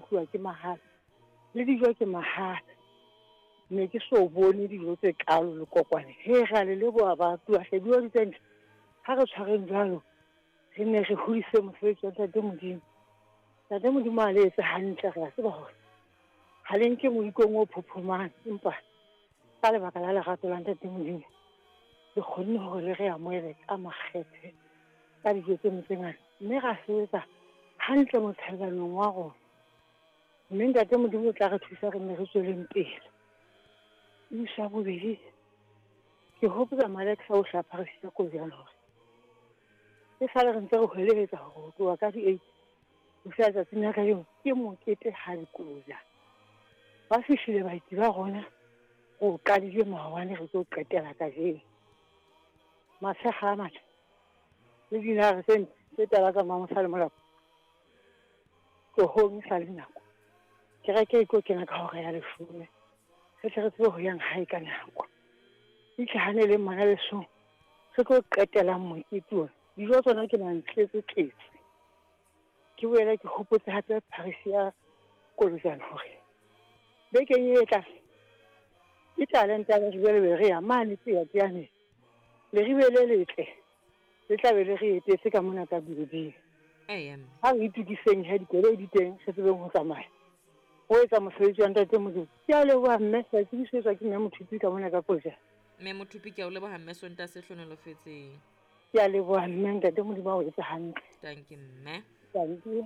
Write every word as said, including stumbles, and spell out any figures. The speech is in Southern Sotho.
otluwa ke mahala, le dijo ke mahala. Ne ke so bone dijo tse kalo le kokwane. He ra le leboha baratuwa hle, dijo di tse ntle. Ha re tshwareng jwalo, re ne re hodise mosebetsi wa Ntate Modimo. Ntate Modimo a le etse hantle, re a tseba hore ha le nke moikong o phophomang, empa ka lebaka la lerato la Ntate Modimo le kgonne hore le re amohele ka makgethe ka dijo tseno tse ngata, mme ra sebetsa hantle motshelanong wa rona. Mme Ntate Modimo o tla re thusa re nne re tsweleng pele. Isa bobedi, ke hopotsa Malex a o hlapha re sita Kojana hore e sale re ntse re hwelehetsa hore ho tloha ka di-eight ho fihla tsatsing la kajeno ke mokete ha dikoja. Ba fihlile baeti ba rona, re o qadile maobane re tlo qetela kajeno. Matshekga a matle le dinare tse ntle tse tala tsa Mamosa le Molapo. Tlohong e sa le nako. Kereke e tlo kena ka hora ya leshome. Re tle re tsebe ho yang hae ka nako. Itlhahaneleng ngwana lesong, re tlo qetelang mokete ona. Dijo tsona ke mantletse tletse. Ke boele ke hopotse hape Paris ya Kolojana hore bekeng e tlang ke talente ya Leribe le re ya mane Tiyatiyane. Leribe le letle le tla be le re etetse ka mona ka building. Eya mme. Ha re itokiseng he dikoloi di teng, re tsebeng ho tsamaya. Ho etsa mosebetsi wa Ntate Modimo. Ke a leboha mme, ke a tsebisetswa ke mme Mothupi ka mona ka Kojana. Mme Mothupi, ke a o leboha mme, Sontaha se hlohonolofetseng. Ke a leboha mme, Ntate Modimo a o etse hantle. Thank you mme. Thank you.